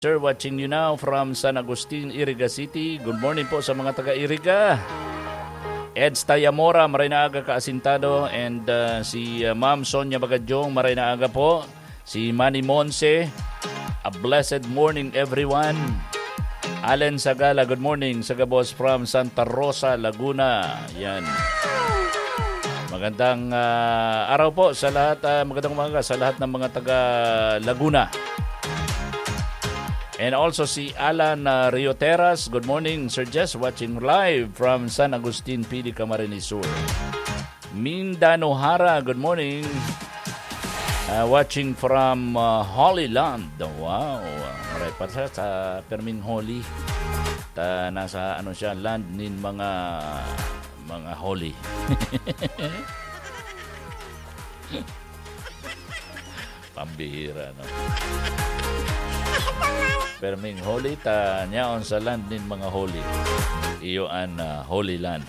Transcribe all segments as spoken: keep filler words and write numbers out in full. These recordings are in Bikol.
Sir, watching you now from San Agustin, Iriga City. Good morning po sa mga taga Iriga. Eds Tayamora, maray na aga ka, Asintado. And uh, si uh, Ma'am Sonia Bagadyong, maray na aga po. Si Manny Monse, a blessed morning, everyone. Allen Sagala, good morning. Sagabos from Santa Rosa, Laguna. Yan. Magandang ah, araw po sa lahat. Ah, magandang umaga sa lahat ng mga taga Laguna. And also si Alan ah, Rioteras. Good morning, Sir Jess. Watching live from San Agustin, Pili, Camarines Sur. Minda Nohara, good morning. Ah, watching from ah, Holy Land. Wow. Maray pa sa, sa Perming Holy. Ta, nasa ano siya, land nin mga mga holy. Pambihira, no? Perming holy ta, nyaon sa land nin mga holy. Iyo an ah, Holy Land.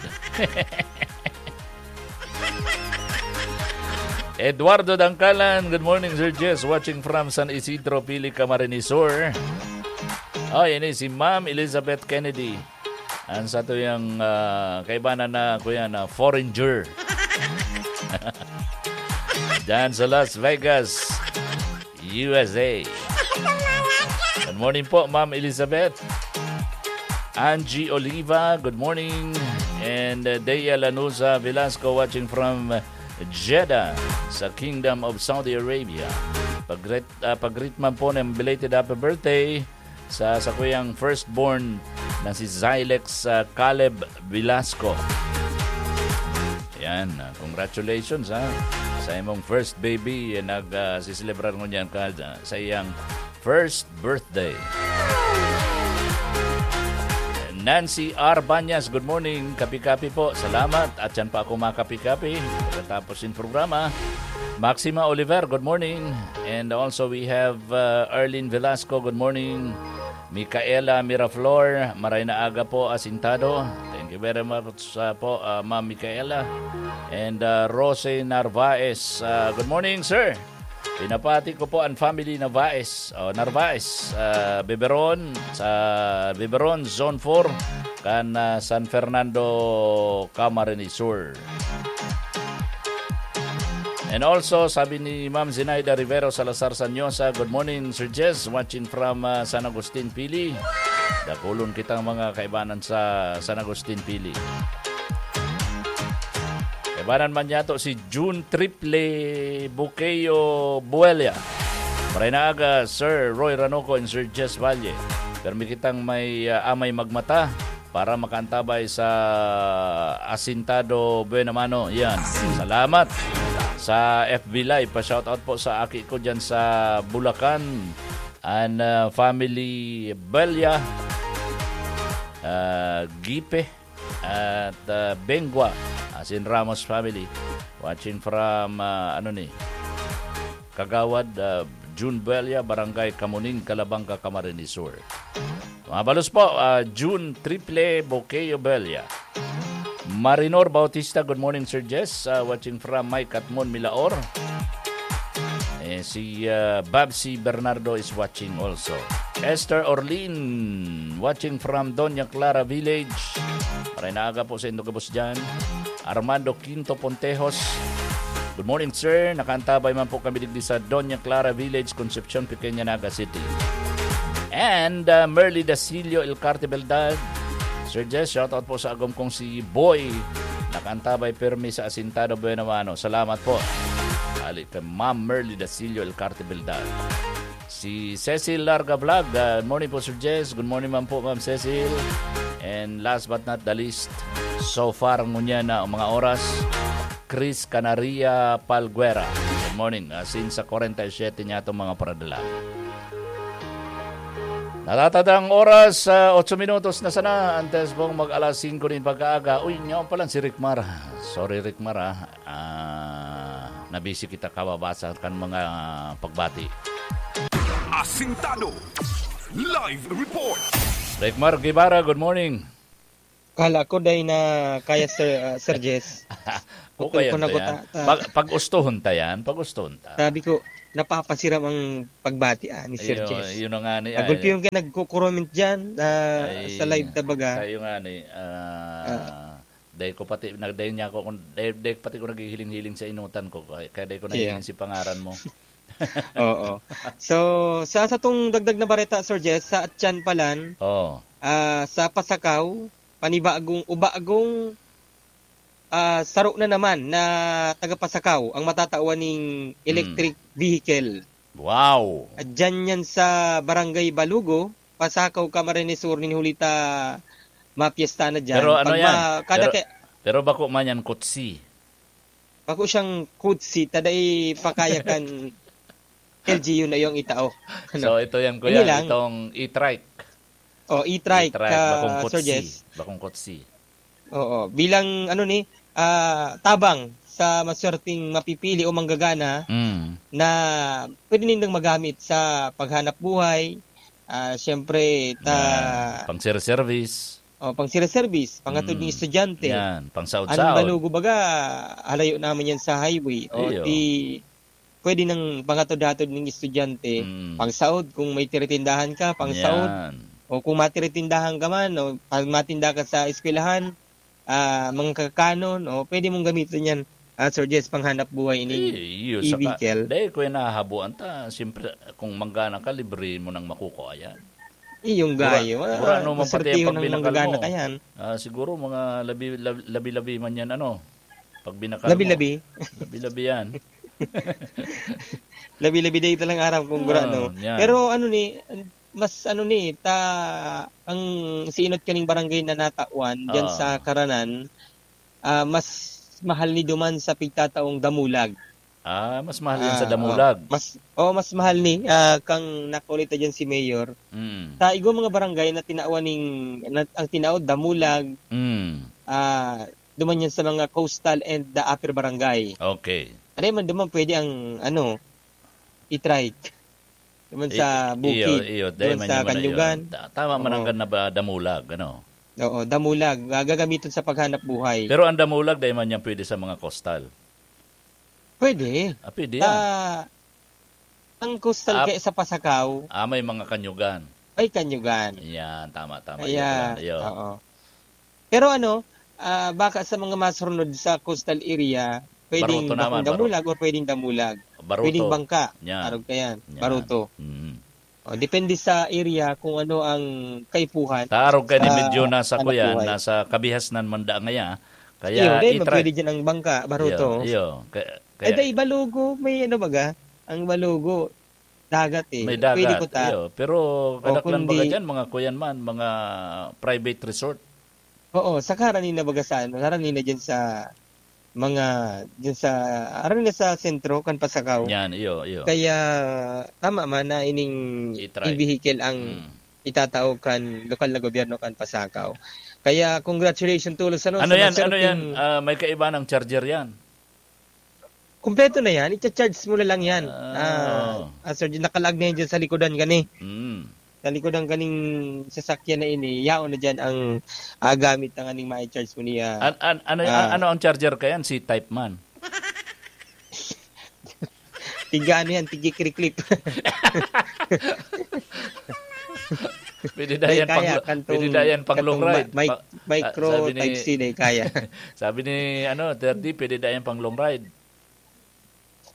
Eduardo Dangkalan, good morning, Sir Jess. Watching from San Isidro, Pili, Camarines Sur. Oh, ini si Ma'am Elizabeth Kennedy. Ang satuyang ah, kaibanan na, kuya, na foreigner. Diyan sa Las Vegas, U S A. Good morning po, Ma'am Elizabeth. Angie Oliva, good morning. And uh, Dea Lanuza Velasco watching from Jeddah sa Kingdom of Saudi Arabia. Pag-greet, ah, pag-greet man po ng belated happy birthday sa sakuyang firstborn na si Zylex ah, Caleb Velasco. Yan, ah, congratulations ha. Sa imong first baby, eh, nag ah, siselebrar ngunyan ka ah, sa iyang first birthday. Nancy R. Banyas, good morning. Kapi-kapi po. Salamat. At yan pa ako makapi-kapi pagkatapos ng programa. Maxima Oliver, good morning. And also we have uh, Arlene Velasco, good morning. Micaela Miraflor, maray na aga po, Asintado. Thank you very much uh, po, uh, Ma'am Micaela. And uh, Rose Narvaez, uh, good morning, sir. Pinapati ko po ang family Narvaez, oh, Narvaez, ah, Beberon, sa Beberon, Zone four, kan ah, San Fernando, Camarines Sur. And also, sabi ni Ma'am Zinaida Rivero Salazar Sanyosa, "Good morning, Sir Jess, watching from ah, San Agustin, Pili." Dakulon kitang mga kaibanan sa San Agustin, Pili. Kaibanan man niyato si June Triple Buqueo Buella. Maray na aga, Sir Roy Ranoco and Sir Jess Valle. Permi kitang may ah, amay magmata para makaantabay sa Asintado Buena Mano. Yan. Salamat sa F B Live. Pa-shoutout po sa aki ko dyan sa Bulacan. And ah, family Belia, ah, Gipe, at ah, Bengua, as in Ramos family. Watching from, ah, ano ni, Kagawad ah, June Belia, Barangay Kamuning, Calabanga, Camarines Sur. Mabalos po, ah, June Triple Bokeo Belia. Marinor Bautista, good morning, Sir Jess. Ah, watching from May Katmon, Milaor. Eh, si ah, Babsi Bernardo is watching also. Esther Orlin, watching from Doña Clara Village. Maray na aga po sa indo gabos dyan. Armando Quinto Pontejos. Good morning, sir. Nakaantabay man po kami digdi sa Doña Clara Village, Concepcion, Pequeña, Naga City. And uh, Merly Dasilio Elcarte Beldad. Sir Jess, shoutout po sa agom kong si Boy. Nakaantabay permi sa Asintado Buena Mano. Salamat po. Ali kay Ma'am Merly Dasilio Elcarte Beldad. Si Cecil Larga Vlog. Good morning po, Sir Jess. Good morning man po, Ma'am Cecil. And last but not the least, so far ngunyan na ang mga oras, Chris Canaria Palguera. Good morning. Ah, since sa forty-seven niya itong mga paradala. Natatadang oras, ah, otso minutos na sana, antes pong mag-alas singko nin pagkaaga. Uy, nyaon pa lang si Rickmar. Sorry, Rickmar, ah. Ah, nabisi kita kababasa kan mga pagbati. Asintado Live Report. Rickmar Guevara, good morning. Kala ko dai na kaya, Sir, ah, Sir Jess. Putol Okay, ko na yan. Guta, ah. Pag, pag-ustuhon ta yan, pag-ustuhon ta. Sabi ko, napapasiram ang pagbati, ah, ni Sir Iyo, Jess. Yun na nga ni, Nagulpi ay, yung kaya nagko-comment dyan, ah, ay, sa live, tabaga. Kayo nga ni, ah, Ah. dahil ko pati, nag-, dahil niya ako, kung, dahil, dahil pati ko naghihiling-hiling sa inutan ko, kaya, kaya dahil ko Iya. nahihiling si pangaran mo. Oo. So, sa, sa tong dagdag na bareta, Sir Jess, sa Atyan Palan, Oo. ah, sa Pasakaw, panibagong, o bagong, ah, saro na naman na taga-Pasakaw ang matatawan ning electric Hmm. vehicle. Wow! At dyan yan sa Barangay Balugo, Pasakaw, Camarines Sur, nin huli ta mapiesta na dyan. Pero ano Pag yan? ma-, kada Pero, ke- pero bako man yan kutsi. Bako siyang kutsi, ta dai pa kaya kan L G U na yung itao. Ano? So, ito yan, Ini kuya, lang. itong e-trike. Oh, e-trike, E-trike, ah, bakong kutsi. Sir Jess. Bakong kutsi. Oo, bilang, ano ni, ah, tabang sa maswerteng mapipili o manggagana Mm. na pwede nindang magamit sa paghanap buhay, ah, siyempre, ta- Yan. Pang-service. Oh, pang-service, pangatod Mm. ng estudyante. Yan, pangsaod-saod. Ang Balugo, baga, halayo naman yan sa highway. O, Iyo. di, pwede nang pangatod-hatod ng estudyante, Mm. pangsaod kung may tiritindahan ka, pangsaod. Yan. O kung matiritindahan ka man, o pag matinda ka sa eskwelahan, ah, mga kakanon, o pwede mong gamitin yan, ah, Sir Jess, panghanap buhay ini Eh, iyo, saka, e-vehicle. dahil ko yung nahahabuan ta, siyempre, kung manggana ka, libre mo nang makukuha yan. Iyong Mura-, gayo, ah, mura no man pati maswertiho ang ng pagbinakal manggagana mo. ka yan. Ah, siguro mga labi-, lab-, labi-labi man yan, ano, pagbinakal mo. Labi-labi? Labi-labi yan. Labi-labi day talang aram kung gurano. Ah, yan. Pero ano ni, mas ano ni, ta, ang siinot kaning barangay na natawan, dyan Ah. sa Karanan, ah, mas mahal ni duman sa pigtataong damulag. Ah, mas mahal yan sa Ah, damulag. oh. Mas, oh, mas mahal ni, ah, kang nakulit na dyan si Mayor. Mm. Sa igwa mga barangay na tinawan ning, na, ang tinaod, damulag, Mm. ah, duman yan sa mga coastal and the upper barangay. Okay. Ano man duman pwede ang, ano, e-trike. Duman I-, sa iyo, bukid, iyo, dahil duman man sa yung mga Kanyugan. yun. Ta-, tama man ang Oo. kan na ba damulag, ano? Oo, damulag. Ah, gagamitin sa paghanap buhay. Pero ang damulag, dahil man yan pwede sa mga coastal. Pwede. Ah, pwede Sa, yan. ang coastal Ah, kaya sa Pasakaw. ah, may mga Kanyugan. Ay, Kanyugan. Yan, tama, tama. Kaya, Iyo pala, iyo. oo. Pero ano, ah, baka sa mga masurnod sa coastal area, pwedeng Baruto bakong naman, baru-, damulag or pwedeng damulag. Baruto. Pwedeng bangka. Yan. Arog ka yan. Yan. Baruto. Mm. O, depende sa area kung ano ang kaipuhan Taarog ka ni sa medyo nasa hanap kuyan, buhay. nasa kabihasnan man da ngaya. Kaya Iyo, dahil i-try. pwede dyan ang bangka, baruto. Iyo, iyo. Kaya, Ay, kaya dahil Balugo, may ano baga? Ang Balugo, dagat eh. May Pwede dagat, ko ta. iyo. Pero O, kadaklan baga kundi dyan, mga kuyan man, mga private resort. Oo, saka harani na baga sa ano, harani na dyan sa mga, dyan sa, harani na sa sentro, kan Pasakaw. Yan, iyo, iyo. Kaya, tama man na ining I-try. e-vehicle ang Mm. itatao kan lokal na gobyerno kan Pasakaw. Kaya, congratulations, Tulos, ano, Ano sa yan? Ano yan? maswerteng Ah, may kaiba ng charger yan? Kumpleto na yan, icha-charge mo na lang yan. Ah. Ah, ah, sir, nakalaag na yan dyan sa likodan gani. Mm. Sa likodan ganing sasakyan na ini, yaon na dyan ang, ah, gamit na nganing ma-charge mo niya. An-, an-, ano, Ah. ano ang charger ka yan? C-type man. Tiga ano yan, tigi-clip-clip. Pwede na Dahil yan pang kaya, lo-, kantong, pwede na yan pang long kantong ride. ma-, mic-, Pa-, micro ah, sabi ni, type C, dahil kaya. sabi ni, ano, thirty, pwede na yan pang long ride.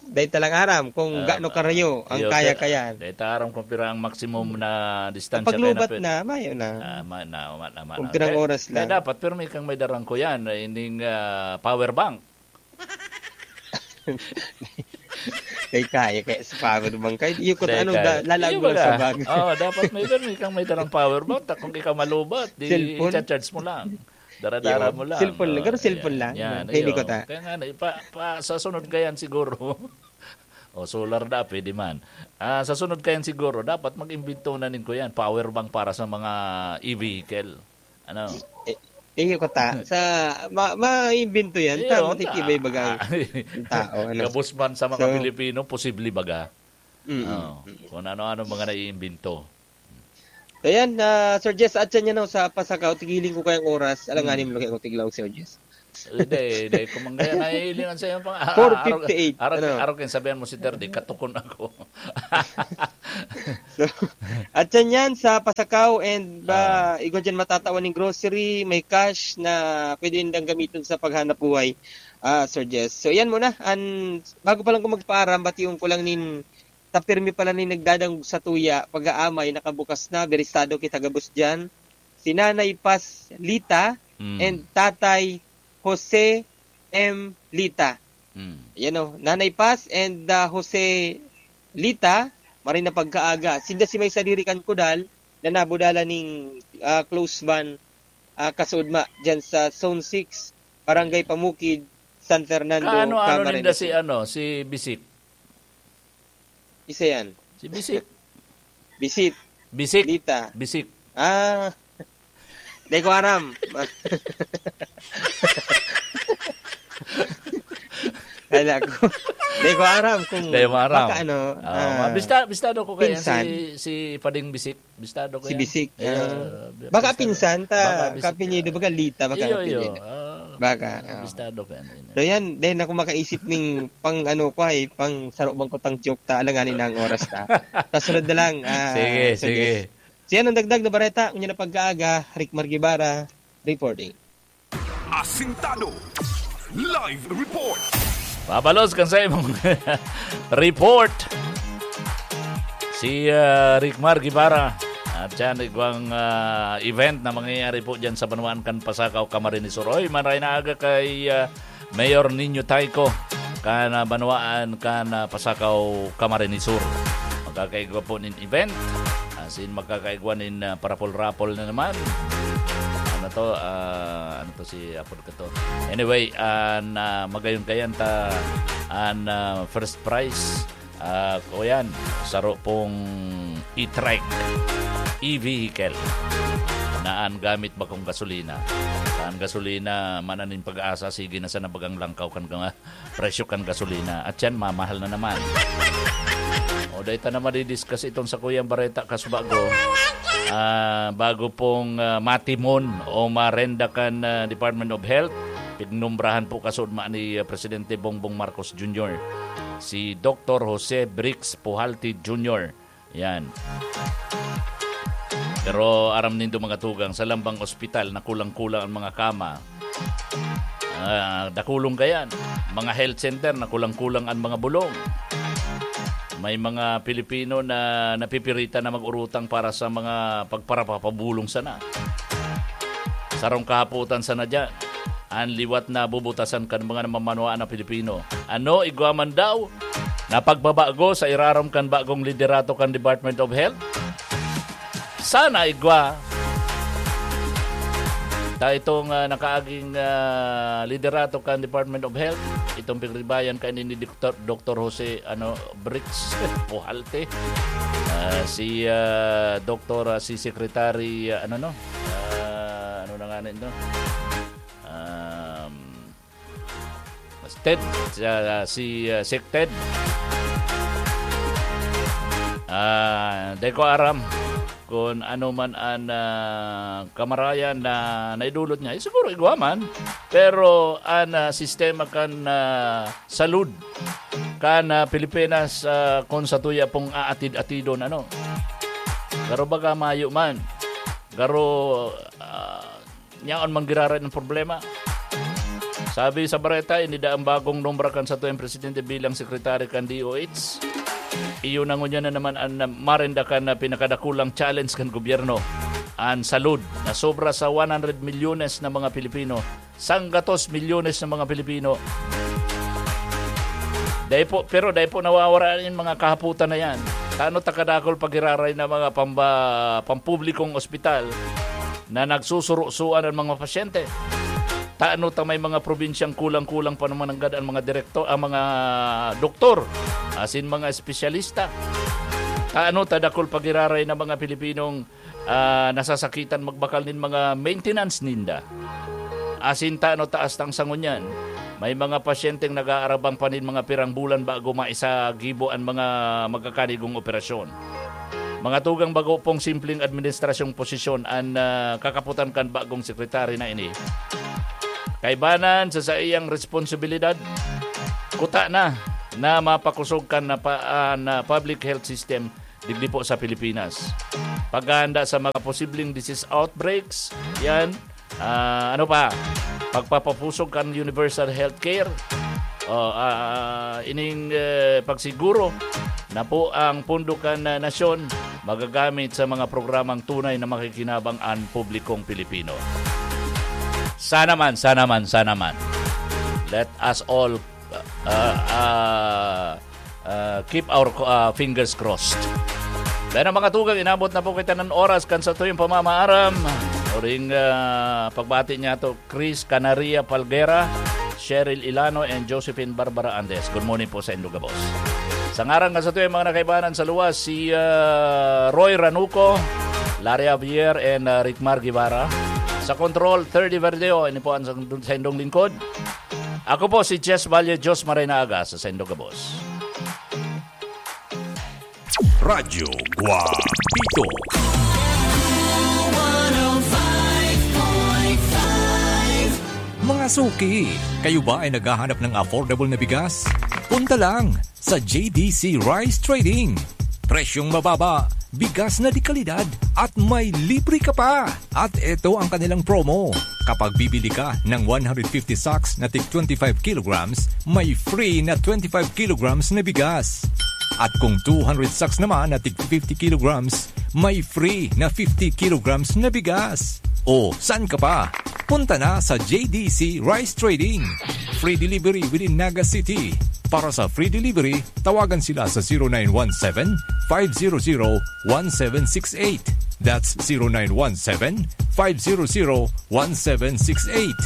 Dahil talang aram kung Ah, gaano karayo ang iyo, kaya-kaya. dahil ta aram kung pira ang maximum na distansya Kapag kaya na lubat pwede. na, mayo na. Ah, ma-, na, ma-, na, ma-, Kung na. pirang Kaya, oras kaya lang. dapat, pero may kang may darang ko yan, eh, ining, ah, power bank. Kay kaya, kaya sa power bank. Kaya iyo ko Dahil ano, kaya. da-, lalaag Iyo mo lang baga. sa bag. Oo, dapat may, pero may kang may darang power bank. Ta-, kung ikaw malubat, di Cellphone? i-charge mo lang. Dara-dara Iyo, mo lang. cellphone lang. Oh, Pero cellphone yan, lang. yan, Hindi iyo. ko ta. Kaya nga, na, pa, pa, sa sunod ka yan siguro. O, solar na, pwede man. Ah, sa sunod ka yan siguro, dapat mag-imbento na nin ko yan. Power bank para sa mga e-vehicle. Ano? Eh, iyo ko ta. Sa, ma-, maimbento yan. Iyo, Ta, matitibay ta. baga ang tao, ano. Gabos man sa mga So, Pilipino, posible baga. Mm, Oo. mm. Kung ano-ano mga naiimbento. So, yan, ah, Sir Jess, at yan, ano, sa Pasakaw, tigiling ko kayang oras. Alanganin Mm. mo lang kayo, tiglaw, Sir Jess. Hindi, hindi. Kung manggaya, nahihilingan sa'yo pang, ah, Four fifty-eight, arog, arog, ano? Arog yung sabihan mo si Terdy, katukon ako. So, at yan yan, sa Pasakaw and ba, Ah. igwa dyan matatawan ng grocery, may cash na pwede nindang gamiton sa paghanap buhay, ah, Sir Jess. So, yan muna. An, bago pa lang ko magpaaram, batiyon ko lang nin, ta pirmi pala nin nagdadangog sa tuya, pag-aamay, nakabukas na, berisado kita gabos dyan. Si Nanay Paz Lita Mm. and Tatay Jose M. Lita. Mm. Yan o, Nanay Paz and, ah, Jose Lita, maray na pagkaaga. Sinda si may sadiri kan Kudal, na nabudala ning, ah, close ban, ah, kasudma dyan sa Zone six, Barangay Pamukid, San Fernando, Kaano-ano Camarines ninda si, Sur. ano, si Bisik? Isa yan. Si Bisik. Bisit. Bisik. Lita. Bisik. Ah. Di ko aram. Kala ko. Di ko aram kung Di mo aram. baka ano, Ah, ah, bista-, bistado ko kaya pinsan. si, si Pading Bisik. Bistado ko Si yan. Bisik, Ayan, ah, ah, baka bistado. pinsan ta, Baka Bisik, kapinyido, ah. baga Lita, baka Iyo, iyo. kapinyido. Ah, Baka, ah, ah. bistado ko yan. So yan, then ako makaisip ning pang ano ko ay, pang saro bang kutang joke ta, alanganin na ang oras ta. Sa sunod na lang, ah, Sige, Sir sige. Jess. Siya ang dagdag na bareta, unya na pagkaaga, Rick Margibara, reporting. Asintado. Live report. Pabalos kan sa imong report. Si, ah, Rick Mar Guevara. At yan, igwang, ah, event na mangyayari po dyan sa banwaan kan Pasakaw, Camarines Sur. Oy, maray na aga kay, ah, Mayor Nino Tayco, kan, ah, banwaan kan, ah, Pasakaw, Camarines Sur. Magkakaigwa po nin event. As in, magkakaigwa nin, ah, parapol-rapol na naman. Ano to? Ah, ano to si Apod ka to? Anyway, ah, na magayon kayan ta an, ah, first prize. Ah, o yan, saro pong e-trike, e-vehicle na an gamit bakong gasolina. An gasolina, mananing pag-asa, sige na sana bagang langkaw kan gama-, presyo kan gasolina. At yan, mamahal na naman. O, dahil ta na madidiscuss itong sa Kuyang Bareta, kasubago, ah, bago pong, ah, matimon o marenda kan, ah, Department of Health, pinumbrahan po kasudma ni, ah, Presidente Bongbong Marcos Junior, si Doktor Jose Brix Pujalte Junior. Yan. Pero aram nindo, mga tugang, sa lambang ospital na kulang-kulang ang mga kama. Ah, dakulong kayan. Mga health center na kulang-kulang ang mga bulong. May mga Pilipino na napipiritan na mag-urutang para sa mga pagparapapabulong sana. Sarong kahapotan sana dyan. An liwat na bubutasan kan mga namamanwaan na Pilipino. Ano, igwa man daw na pagbabago sa irarom kan bagong liderato kan Department of Health? Sana igwa. Ta itong, ah, nakaaging, ah, liderato kan Department of Health, itong pigribayan kaini ni Doktor, Doktor Jose, ano, Brix Pujalte. Ah, si, ah, Doktor, ah, si Secretary, ah, ano, no? Ah, ano na nga na ito? Um, Ted, ah, si, ah, Sec Ted. Ah, di ko aram kung ano man an, ah, kamarayan na naidulot niya. Eh, siguro igwa man. Pero an, ah, sistema kan, ah, salud kan, ah, Pilipinas, ah, kung sa tuya pong aatid-atidon, ano. Garo baga mayo man. Garo, ah, yaon man giraray ang problema. Sabi sa bareta, inida ang bagong nombra kan satuyang presidente bilang sekretary kan D O H. Iyo na ngunyan na naman an marendakan na pinakadakulang challenge kan gobyerno, an salud, na sobra sa one hundred milyones na mga Pilipino, sanggatos milyones na mga Pilipino. Dai po, pero dai po nawawara yung mga kahaputan na yan. Tano ta kadakol pagiraray na mga pamba-, pampublikong ospital na nagsusurusuan ang mga pasyente? Tano ta may mga probinsyang kulang-kulang pa naman nanggad ang mga direkto-, ang mga doktor, asin mga espesyalista? Tano ta dakol pagiraray na mga Pilipinong, ah, nasasakitan magbakal nin mga maintenance ninda? Asin tano ta astang sa ngunyan, may mga pasyenteng nag-aarabang pa nin mga pirang bulan bago maisagibo an mga magkakanigong operasyon. Mga tugang, bago pong simpleng administrasyong posisyon an, ah, kakaputan kan bagong sekretary na ini. Kaibanan sa saiyang responsibilidad, kuta na na mapakosog kan na pa-, ah, na public health system digdi po sa Pilipinas. Paghahanda sa mga posibleng disease outbreaks, yan. Ah, ano pa? Pagpapapusog kan universal healthcare. Oh, ah, ining, eh, pagsiguro na po ang pondo kan, ah, nasyon magagamit sa mga programang tunay na makikinabang ang publikong Pilipino. Sana man, sana man, sana man. Let us all, uh, uh, uh, keep our, uh, fingers crossed. Pero mga tugang, inabot na po kita ng oras kan satuyang pamamaaram. Uring, uh, pagbati niya to, Chris Canaria Palguera, Cheryl Ilano, and Josephine Barbara Andes. Good morning po sa indo gabos. Sa ngaran nga satuyang mga nakaibanan sa luwas, si, uh, Roy Ranuco, Larry Javier, and, uh, Rickmar Guevara. Sa control, Thirdy Verdeo, ini po ang sa, sa indong lingkod. Ako po si Jess Valle, Diyos maray na aga sa saindo gabos. Radyo Guapito. Mga suki, kayo ba ay naghahanap ng affordable na bigas? Punta lang sa J D C Rice Trading. Presyong mababa, bigas na de kalidad, at may libre ka pa! At eto ang kanilang promo. Kapag bibili ka ng one hundred fifty sacks na tig twenty-five kilograms, may free na twenty-five kilograms na bigas. At kung two hundred sacks naman na tig fifty kilograms, may free na fifty kilograms na bigas. O, saan ka pa? Punta na sa J D C Rice Trading. Free delivery within Naga City. Para sa free delivery, tawagan sila sa zero nine one seven, five zero zero, one seven six eight. That's zero nine one seven, five zero zero, one seven six eight.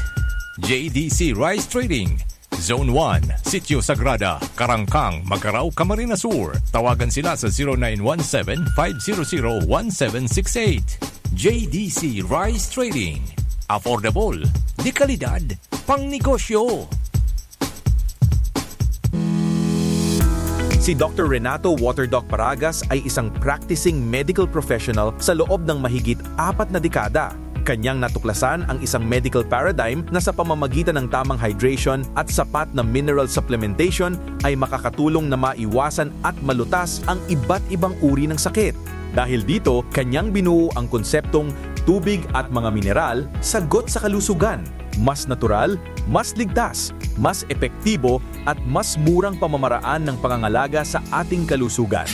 J D C Rice Trading, Zone one, Sitio Sagrada, Karangkang, Magarao, Camarines Sur. Tawagan sila sa zero nine one seven, five zero zero, one seven six eight. J D C Rice Trading. Affordable, de kalidad, pangnegosyo. Si Doctor Renato Waterdoc Paragas ay isang practicing medical professional sa loob ng mahigit apat na dekada. Kanyang natuklasan ang isang medical paradigm na sa pamamagitan ng tamang hydration at sapat na mineral supplementation ay makakatulong na maiwasan at malutas ang iba't ibang uri ng sakit. Dahil dito, kanyang binuo ang konseptong tubig at mga mineral, sagot sa kalusugan. Mas natural, mas ligtas, mas epektibo, at mas murang pamamaraan ng pangangalaga sa ating kalusugan.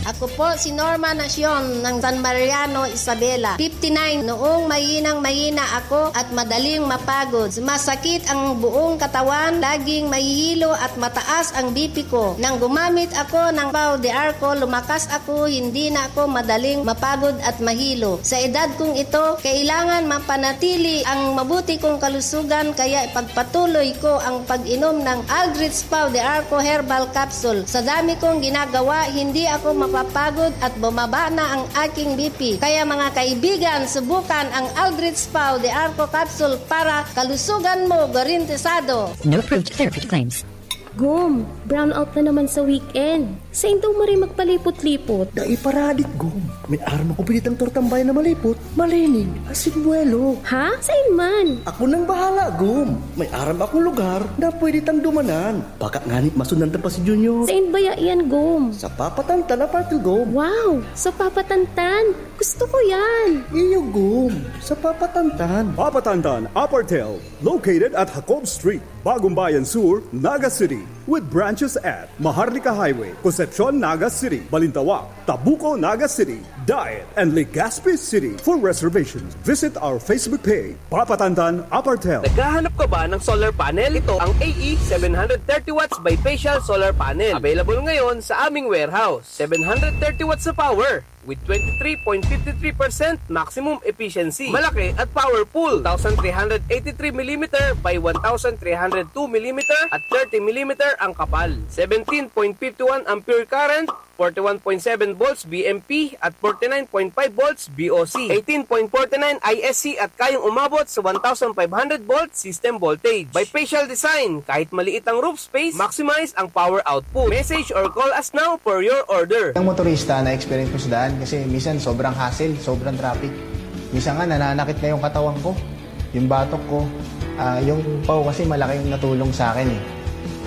Ako po si Norma Nacion ng San Mariano, Isabela, fifty-nine. Noong mahinang-mahina ako at madaling mapagod, masakit ang buong katawan, laging mahihilo at mataas ang B P ko. Nang gumamit ako ng Pau de Arco, lumakas ako, hindi na ako madaling mapagod at mahilo. Sa edad kong ito, kailangan mapanatili ang mabuti kong kalusugan, kaya ipagpatuloy ko ang pag-inom ng Aldrich Pau de Arco Herbal Capsule. Sa dami kong ginagawa, hindi ako mapapagod at bumaba na ang aking B P. Kaya mga kaibigan, subukan ang Aldrich Pau de Arco Capsule para kalusugan mo garantisado. No approved therapy claims. Gum, brownout na naman sa weekend. Sain daw maray magpalipot-lipot? Dai paradik, Gum. May aram ako pinitang tortambay na malipot, malinig, asin buwelo. Ha? Sain man? Ako nang bahala, Gum. May aram akong lugar na pwede tang dumanan. Baka ngani masundan ta pa si Junior. Sain baya yan, Gum? Sa Papa Tantan Apartel, Gum. Wow! Sa Papa Tantan! Gusto ko yan! Iyo, Gum. Sa Papa Tantan. Papa Tantan Apartel, located at Jacob Street, Bagong Bayan Sur, Naga City, with branches at Maharlika Highway, Concepcion, Naga City, Balintawak, Tabuco, Naga City, Daet, and Legazpi City. For reservations, visit our Facebook page, Papa Tantan Apartel. Naghahanap ka ba ng solar panel? Ito ang A E seven hundred thirty watts bifacial solar panel. Available ngayon sa aming warehouse. Seven hundred thirty watts na power with twenty-three point fifty-three percent maximum efficiency. Malaki at powerful. Two thousand three hundred eighty-three millimeter by one thousand three hundred two millimeter at thirty millimeter ang kapal. Seventeen point fifty-one ampere current, forty-one point seven volts B M P at forty-nine point five volts B O C. Eighteen point forty-nine I S C at kayang umabot sa one thousand five hundred volts system voltage. Bifacial design, kahit maliit ang roof space, maximize ang power output. Message or call us now for your order. Ang motorista na experience ko sa daan kasi minsan sobrang hassle, sobrang traffic. Minsan nga nananakit na yung katawan ko. Yung batok ko, ah, yung paw kasi malaking natulong sa akin eh.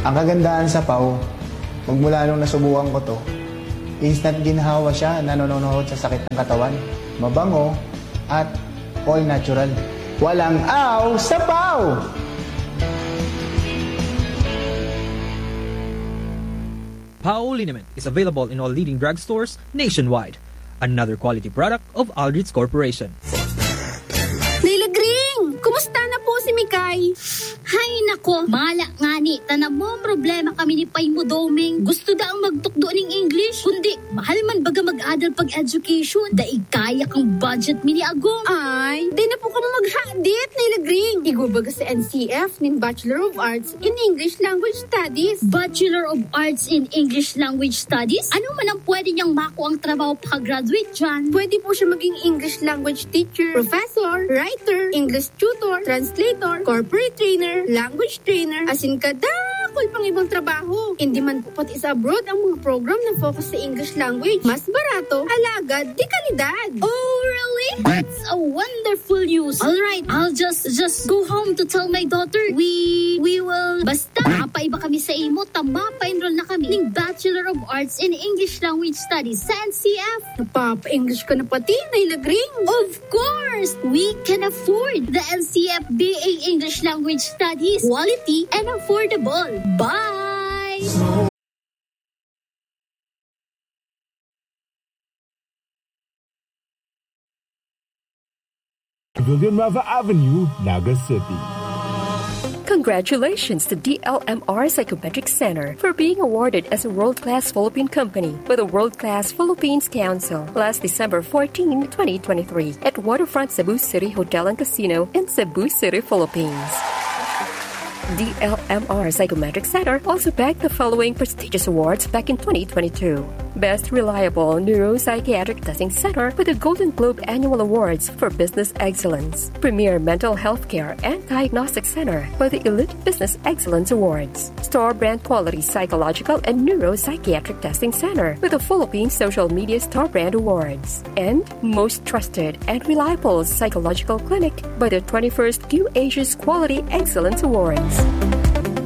Ang kagandahan sa paw, magmula nung nasubukan ko 'to, instant ginhawa siya na nanonohod sa sakit ng katawan. Mabango at all natural. Walang aw sa paw! Pao liniment is available in all leading drugstores nationwide. Another quality product of Aldrich Corporation. Nailagring! Kumusta na po si Mikay? Hay nako, mala ngani, ta namomroblema kami ni Pay mo, Doming. Gusto daang magtukdo ning English, kundi mahal man baga mag-adal pag-education. Daig kaya kang budget mi ni Agong. Ay, di na po kamo maghadit, Nailagring. Igwa baga sa N C F nin Bachelor of Arts in English Language Studies. Bachelor of Arts in English Language Studies? Ano man ang pwede niyang makuang trabaho pag-graduate diyan? Pwede po siya maging English language teacher, professor, writer, English tutor, translator, corporate trainer, language trainer, asin kadakul pang ibang trabaho. Hindi man po pati sa abroad ang mga program na focus sa English language. Mas barato, alagad, de kalidad. Oh, really? That's a wonderful news. All right, I'll just, just go home to tell my daughter. We, we will, basta, mapaiba kami sa imo, ta mapa-enroll na kami ning Bachelor of Arts in English Language Studies sa N C F. Napapa-English ka na pati, Nailagring. Of course, we can afford the N C F B A English Language Studies. Quality and affordable. Bye! Villanueva Avenue, Naga City. Congratulations to D L M R Psychometric Center for being awarded as a world-class Philippine company by the World Class Philippines Council last December fourteen, twenty twenty-three, at Waterfront Cebu City Hotel and Casino in Cebu City, Philippines. D L M R Psychometric Center also bagged the following prestigious awards back in twenty twenty-two: Best Reliable Neuropsychiatric Testing Center with the Golden Globe Annual Awards for Business Excellence, Premier Mental Health Care and Diagnostic Center with the Elite Business Excellence Awards, Star Brand Quality Psychological and Neuropsychiatric Testing Center with the Philippine Social Media Star Brand Awards, and Most Trusted and Reliable Psychological Clinic by the twenty-first Q Asia's Quality Excellence Awards.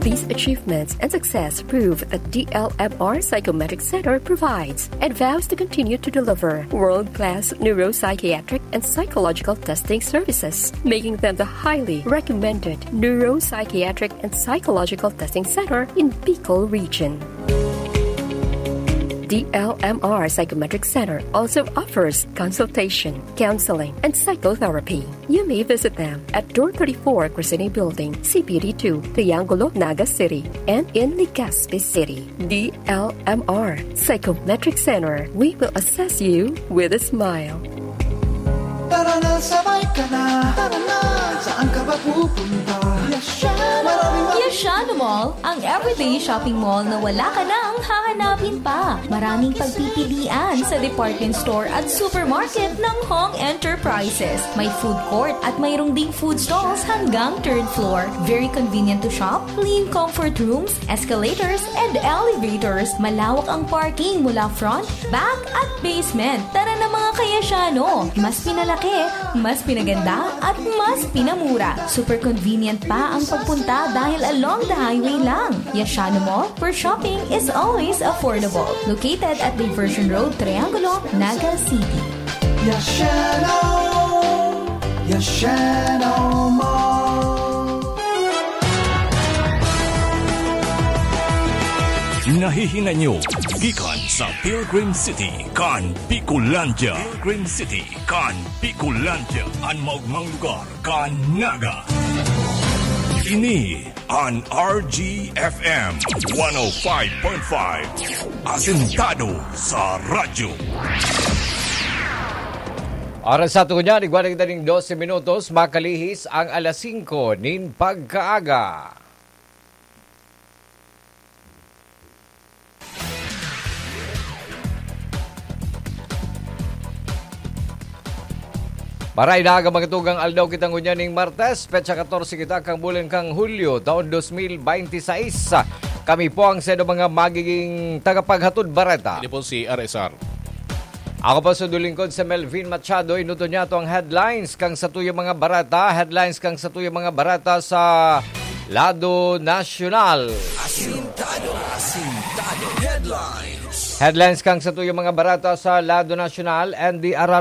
These achievements and success prove that D L M R Psychometric Center provides and vows to continue to deliver world-class neuropsychiatric and psychological testing services, making them the highly recommended neuropsychiatric and psychological testing center in Bicol region. D L M R Psychometric Center also offers consultation, counseling, and psychotherapy. You may visit them at Door thirty-four, Crescene Building, C P D two, Triangulo, Naga City, and in Legazpi City. D L M R Psychometric Center. We will assess you with a smile. Tara na, sabay ka na. Tara na, saan ka ba pupunta? Yashano Mall. Ang everyday shopping mall na wala ka nang hahanapin pa. Maraming pagpipilian sa department store at supermarket ng Hong Enterprises. May food court at mayroong ding food stalls hanggang third floor. Very convenient to shop, clean comfort rooms, escalators, and elevators. Malawak ang parking mula front, back, at basement. Tara na, mga ka-Yashano! Mas pinalaki, mas pinaganda, at mas pinamura. Super convenient pa ang pagpunta dahil along the highway lang. Yashano Mall, where shopping is always affordable. Located at Diversion Road, Triangulo, Naga City. Yashano! Yashano Mall! Nahihinay nyo gikan sa Pilgrim City kan Bicolandia. Pilgrim City kan Bicolandia, an maogmang lugar kan Naga. Ini an R G F M one oh five point five, asentado sa radyo. Oras sa aton niyan, igwa na kita ning dose minutos, makalihis ang alas singko nin pagkaaga. Maray na aga, mga tugang, aldaw kita ngunyan ning Martes, petsa katorse kita kan bulan kan Hulyo, taon dos mil bente seis. Kami po ang sa mga magiging tagapaghatod bareta. Ini po si R S R. Ako pa sa dulingkod sa Melvin Machado, inuto niya to ang headlines kang satuyang mga barata. Headlines kang satuyang mga barata sa lado nasyonal. Asintado. Asintado. Headlines. Headlines kang satuyang mga barata sa lado nasyonal. N D R